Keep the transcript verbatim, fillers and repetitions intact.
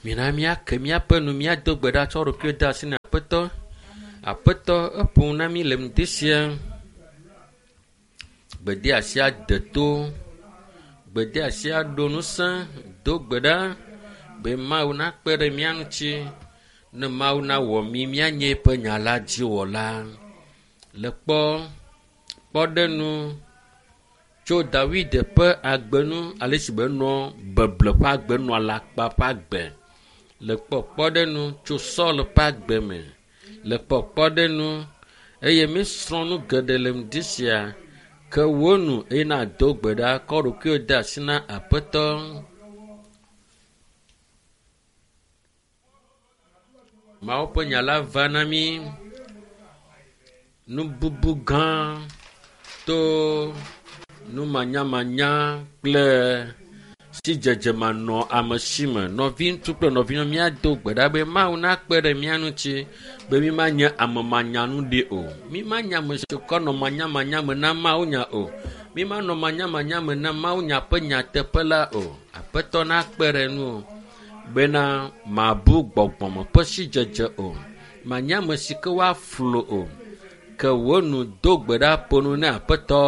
Mina míake míaƒe nu míado gbe ɖa tsɔ ɖokuiwo de asi na Aƒetɔ. Aƒetɔ eƒo nu na mí le ŋdi sia. Gbedeasia de to. Gbedeasia ɖo ŋusẽ. Do gbe ɖa be Mawu nakpe ɖe mía ŋuti ne Mawu nawɔ mí míanye eƒe nya la dziwɔla. Le kpɔ kpɔɖeŋu tso Dawid ƒe agbe nu ale si be nɔ beble ƒe agbe nɔ alakpa ƒe agbe. Le kpɔ kpɔɖeŋu tso Saul ƒe agbe me. Le kpɔ kpɔɖeŋu eye míesrɔ̃ nu geɖe le ŋdi sia ke wo nu eye nado gbe ɖa kɔ ɖokuiwo de asi na Aƒetɔ. Mawu ƒe nya la va na mí nububu gã to numanyamanya kple sidzedze manɔ ame si me. Nɔviŋutsu kple nɔvinyɔnu míado gbe ɖa be Mawu nakpe ɖe mía ŋuti be mímanye ame manyanu ɖi o. Mímanye ame siwo ke nɔ manyamanya me na Mawu nya o. Mímanɔ manyamanya me na Mawu nya ƒe nyateƒe la o. Aƒetɔ nakpe ɖe ŋuwò bena màbu gbɔgbɔme ƒe sidzedze o. Manye ame si ke woaflu o. Ke wò nu do gbe ɖa ƒo nu na Aƒetɔ.